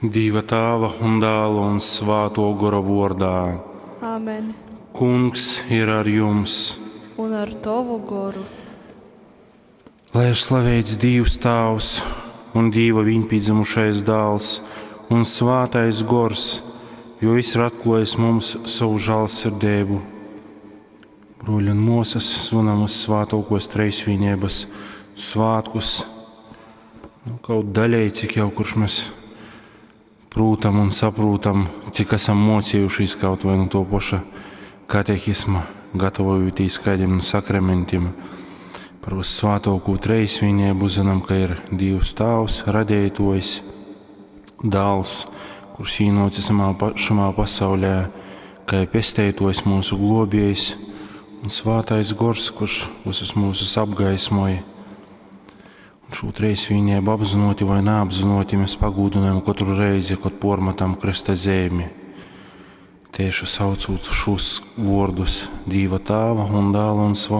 Dīva Tāva un Dāla un Svātō Gora vordā. Āmen. Kungs ir ar jums. Un ar tovu goru. Lai ir slaveits Dīvs Tāvs un Dīva viņpīdzymušais Dāls un Svātais Gors, jo Jis ir atklōjis mums sovu žālsirdeibu. Brōļi un mōsas, svinam Vyssvātōkōs Treisvīneibas svātkus, nu, kaut daļēji, cik jau kurš mēs prūtam un saprūtam, cik esam mocījušies kaut vai no to paša katehisma, gatavojoties kādiem no sakramentiem. Par Vyssvātōkū Treisvīneibu zinām, ka ir Dīvs Tāvs, Radeitojs, Dāls, kurš īnōcis šamā pasaulē, kā pesteitojs mūsu globējs, un Svātais Gors, kurš visus mūsus apgaismoja. Un šo treisvīnību apzinoti vai neapzinoti mēs pagūdinājam katru reizi, kad pormatam kresta zemi. Tieši saucot šos vārdus Dīva Tāva un Dāla un Svātā.